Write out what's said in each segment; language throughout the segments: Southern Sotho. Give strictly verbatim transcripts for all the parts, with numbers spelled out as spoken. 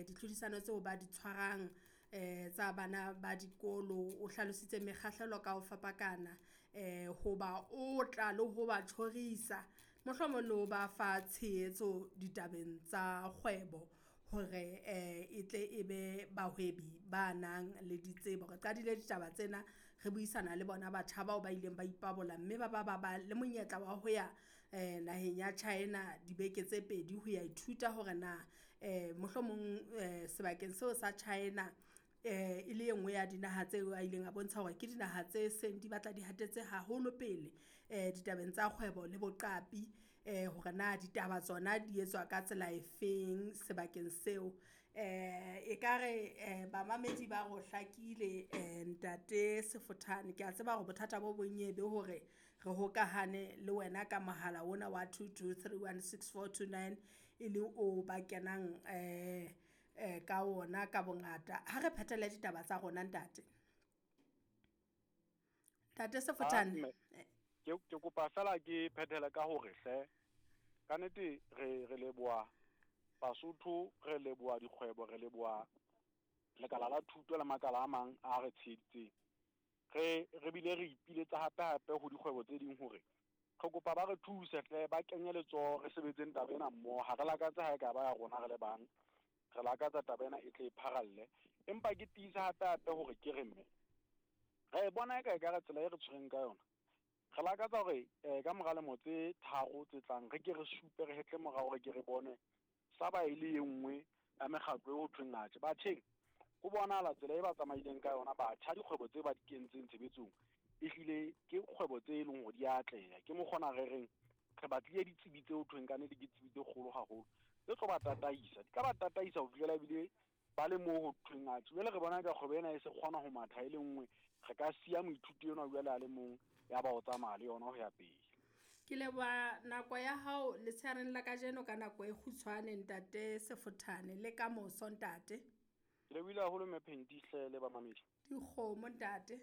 eh ditlhodisano tseo ba di tshwarang eh tsa bana ba dikolo. O hlalositse mekgahlelo ka ho fapakana eh hoba o tla le ho ba tjhorisa, mohlomong le ho ba fa tshehetso ditabeng tsa kgwebo hore eh e tle e be bahwebi ba nang le ditsebo. Re qadile ditaba tsena re buisana le bona batjha bao ba ileng ba ipabola mme ba ba ba ba le monyetla wa ho ya eh naheng ya China dibeke tse pedi ho ya ithuta hore na eh mohlomong eh sebakeng seo sa China eh e le e nngwe ya dinaha tseo a ileng a bontsha hore ke dinaha tse seng di batla di hatetse haholo pele eh ditabeng tsa kgwebo le boqapi eh hore na ditaba tsona di etswa ka tsela e feng sebakeng seo. Eh ekare eh bamamedi ba re o hlakile eh ntate Sefothane, ke a tseba hore bothata bo bong e be hore re hokahane le wena ka mohala ona wa two two three one six four two nine e le o ba kenang eh eh ka ona ka bongata. Ha re phethele ditaba tsa rona ntate. Ntate Sefothane. Ke ke kopa fela ke phethele ka hore hle ka nnete re re leboha Basotho, re leboha dikgwebo, re leboha lekala la thuto le makala a mang a re tsheheditseng. Re re bile re ipiletsa hape hape ho dikgwebo tse ding hore re kopa ba re thuse hle, ba kenye letsoho re sebetseng taba ena mmoho. Ha re lakatse ha e ka ba ya rona re le bang, re lakatsa taba ena e tle e pharalle. Empa ke tiisa hape hape hore ke re mme re bona eka ekare tsela e re tshwereng ka yona, re lakatsa hore eh ka mora lemo tse tharo tse tlang re ke re supe, re hetle morao, re ke re bone sa ba e le e nngwe ya mekgatlo e ho thweng atjhe. Batjheng ho bonahala tsela e ba tsamaileng ka yona batjha, dikgwebo tse ba di kentseng tshebetsong ehlile ke kgwebo tse e leng hore di a atleha. Ke mokgona re reng re batlile ditsebi tse ho thweng ka nnete ke ditsebi tse kgolo haholo tse tlo ba tataisa, di ka ba tataisa ho fihlela ebile ba le moo ho thweng atjhe. Jwale re bona ka kgwebo ena e se kgona ho matha e le nngwe, re ka siya moithuti enwa jwale a le mong ya ba o tsamaya le yona ho ya pele. Ke leboha nako ya hao letshehareng la kajeno ka nako e kgutshwane ntate Sefothane, le ka moso ntate. Ke lebohile haholo mme Phenti hle le bamamedi. Dikgomo ntate.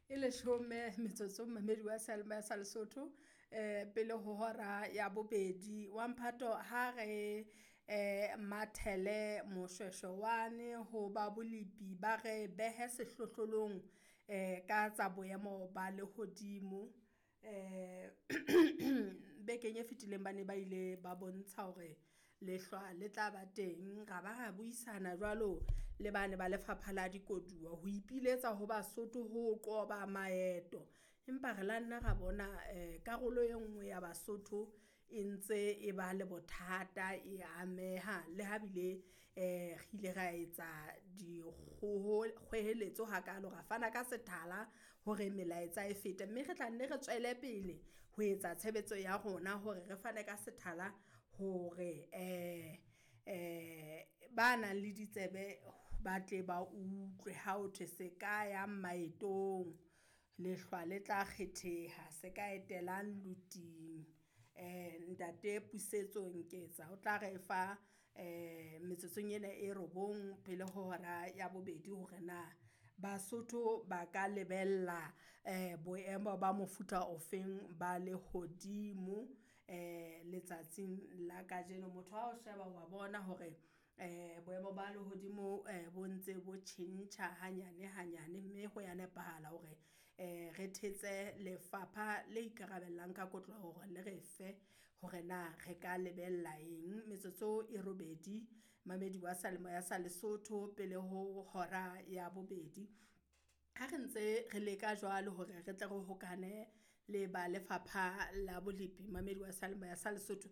E leshome metsotso mmamedi wa Seyalemoya sa Lesotho eh pele ho hora ya bobedi. Wa mphato ha re eh mathele moshweshwe wane ho ba bolepi ba re behe sehlohlolong eh ka tsa boemo ba lehodimo. Eh bekeng e fetileng ba ne ba ile ba bontsha hore lehlwa le tla ba teng, ra ba ra buisana jwalo le bane ba lefapha la dikoduwa ho ipiletsa ho Basotho ho qoba maeto. Empa re la nna ra bona eh karolo e nngwe ya Basotho e ntse e ba le bothata, e ameha le ha bile eh re ile ra etsa dikgweheletso hakalo, ra fana ka sethala hore melaetsa e fete, mme re tla nne re tswele pele ho etsa tshebetso ya rona hore re fane ka sethala hore eh eh ba nang le ditsebe ba tle ba utlwe ha ho thwe se ka yang maetong, lehlwa le tla kgetheha, se ka etelang luting. Eh ntate Pusetso Nketsa o tla re fa eh metsotsong ena e robong pele ho hora ya bobedi hore na Basotho ba ka lebella eh boemo ba mofuta ofeng ba lehodimo eh letsatsing la kajeno. Motho ha o sheba wa bona hore eh boemo ba lehodimo eh bo ntse bo tjhentjha hanyane hanyane, mme ho ya nepahala hore eh re thetse lefapha le ikarabellang ka kotloho hore le re fe hore na re ka lebella eng. Metsotso e robedi mamedi wa Seyalemoya sa Lesotho pele ho hora ya bobedi. Ha re ntse re leka jwalo hore re tle re hokane le ba lefapha la bolepi mamedi wa Seyalemoya sa Lesotho,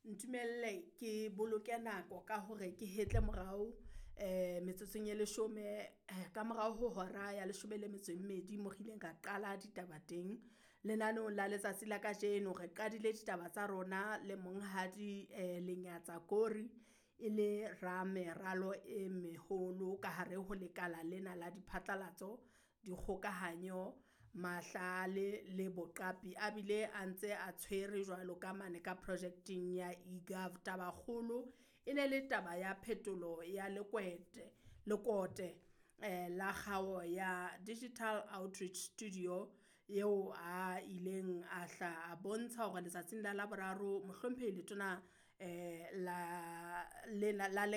ntumelle ke boloke nako ka hore ke hetle morao eh metsotsong e leshome ka morao ho hora ya leshome le metso e mmedi mo re ileng ra qala ditaba teng lenaneong la letsatsi la kajeno. Re qadile ditaba tsa rona le monghadi eh Lenyatsa Kori e le rameralo e meholo ka hare ho lekala lena la diphatlalatso, dikgokahanyo, mahlale le boqapi, a bile a ntse a tshwere jwalo ka mane ka projecting ya eGov. Tabakgolo e ne le taba ya phetolo ya lekwete lekote eh la kgao ya Digital Outreach Studio eo a ileng a hla a bontsha hore letsatsing la Laboraro mohlomphehi letona eh la lena la le